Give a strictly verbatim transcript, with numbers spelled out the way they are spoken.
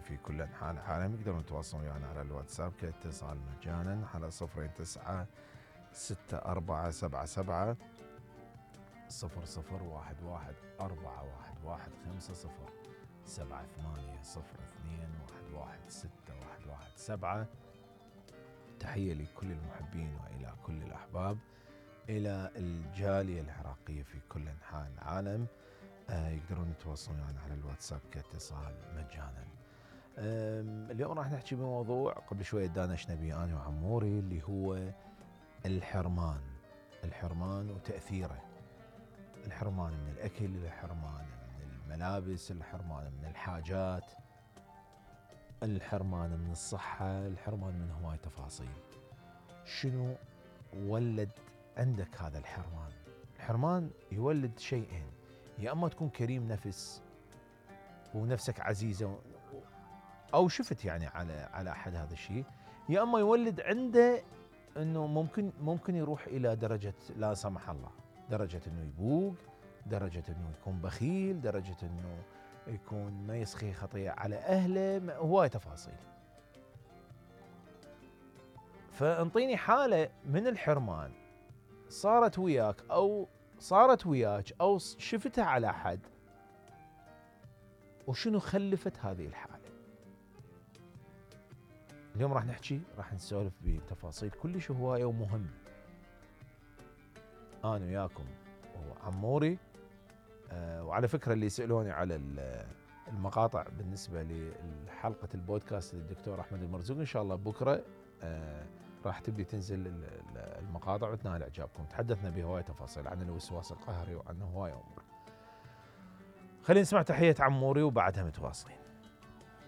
في كل أنحاء العالم يقدرون يتواصلون ويانا على الواتساب كاتصال مجانا على صفر تسعة ستة أربعة سبعة سبعة صفر صفر واحد واحد أربعة واحد واحد خمسة صفر سبعة ثمانية صفر اثنين واحد واحد ستة واحد واحد سبعة. تحية لكل المحبين وإلى كل الأحباب، إلى الجالية العراقية في كل أنحاء العالم. آه يقدرون يتواصلون يعني على الواتساب كاتصال مجانا. اليوم راح نحكي بموضوع قبل شوية دانشنا به أنا وعموري، اللي هو الحرمان. الحرمان وتأثيره، الحرمان من الأكل، الحرمان من الملابس، الحرمان من الحاجات، الحرمان من الصحة، الحرمان من هواي تفاصيل. شنو ولد عندك هذا الحرمان؟ الحرمان يولد شيئين، يا أما تكون كريم نفس ونفسك عزيزة أو شفت يعني على على أحد هذا الشيء، يا أما يولد عنده أنه ممكن ممكن يروح إلى درجة لا سمح الله، درجة أنه يبوق، درجة أنه يكون بخيل، درجة أنه يكون ما يسخي خطية على أهله، هواي تفاصيل. فانطيني حالة من الحرمان صارت وياك أو صارت وياك أو شفتها على أحد، وشنو خلفت هذه الحالة. اليوم راح نحكي، راح نسولف بتفاصيل كلش هواية ومهمة. أنا وياكم وعموري. أه وعلى فكرة اللي يسألوني على المقاطع بالنسبة لحلقة البودكاست للدكتور أحمد المرزوق، إن شاء الله بكرة أه راح تبدي تنزل المقاطع وتنال إعجابكم. تحدثنا بهواية تفاصيل عن الوسواس القهري وعن هواية أمور. خلينا نسمع تحية عموري وبعدها متواصلين.